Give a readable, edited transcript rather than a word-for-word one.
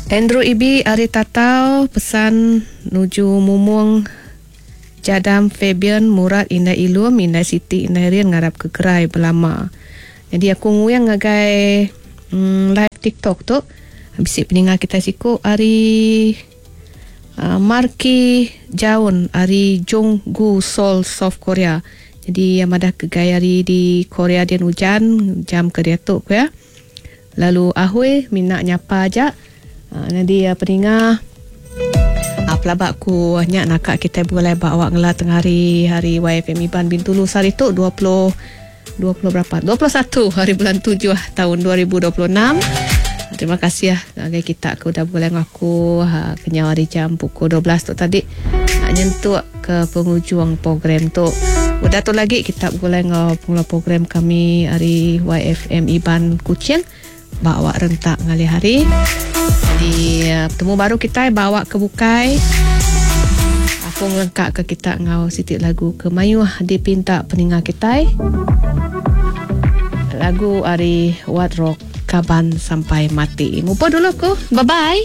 Andrew Ibi ari Tatau pesan nuju Mumung Jadam Fabian Murat Indai Ilum Indai Siti Indai Rin ngarap ke gerai belama. Nyadi aku nguing ngagai um, live TikTok tu bisi peninga kitai siku ari uh, Marki Jaun ari Jung Gu Seoul South Korea. Jadi iya madah ke gaya hari di Korea din ujan jam ke diatu ku iya. Lalu ahui mina nyapa aja. Nyadi peninga pelaba ku nya naka kitai begulai ba awak ngela tengah hari hari YFM Iban Bintulu sehari tu 20 20 berapa? 21 hari bulan 7 tahun 2026. Terima kasih ngagai kita ke udah begulai enggau aku kenyau hari jam pukul 12 tu tadi nyentuk ke pengujung program tu. Udah tu lagi kita begulai enggau pengeluar program kami ari YFM Iban Kuching ba awak rentak ngalih hari. Jadi betemu baru kitai ba awak ke bukai. Aku ngelengka ke kita enggau siti lagu ke mayuh dipinta peninga kitai. Lagu ari Wat Rock Kaban Sampai Mati. Mupuk dulu ku. Bye bye.